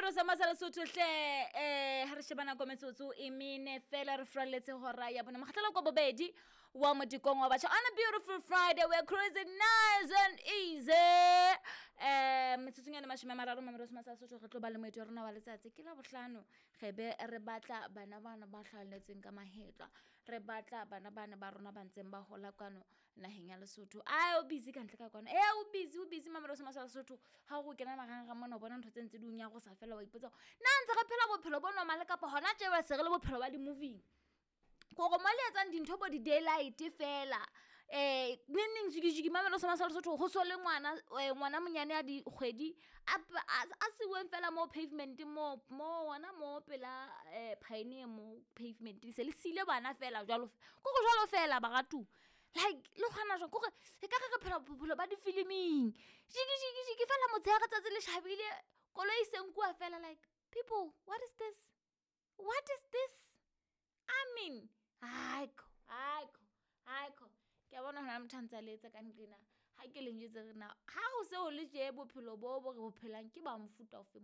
Mamelo sa Masala Sotho hle ha re sheba nako metsotso e mene fela re furalletse hora ya bone mokgatlelo kwa bobedi wa modikong wa batjha on a beautiful Friday. We're cruising nice and easy. Metsotsong ya 30 Mamelo sa Masala Sotho re tlo ba le moeti wa rona wa letsatsi ke la bohlano re be re batla bana bana ba hlahelletseng ka mahetla, re batla bana bana ba rona ba ntseng ba hola kwano naheng ya Lesotho. Ae, o busy ka ntle ka kwano, e o busy, o busy. Mamelo sa Masala Sotho, ha o kena marangrang mona o bona ntho tse ntse di o nyarosa fela, wa ipotsa hore na ntse re phela bophelo bo normal kapa hona tje se re le bophelo ba di-movie-ng. Kore mo le etsang dintho bo di-daylight fela, neng neng jiki jiki. Mamelo sa Masala Sotho, ho so le ngwana, ngwana monyane a dikgwedi a siuweng fela mo pavement mo mo hona mo pela pioneer mo pavement. Se le siile bana fela jwalo, kore jwalo fela baratuwa. Like le kgona jwang? Kore ekare re phela bophelo ba difiliming. Jiki jiki jiki fela motshehare tsatsi le tjhabile, koloi e se nkuwa fela. Like people, what is this? What is this? I mean, haikho haikho haikho. Ke a bona hona le motho a ntse a letsa ka nqena. Ha ke le njwetse re na ha o se o le tje bophelo bo bo re bo phelang ke ba mofuta ofeng?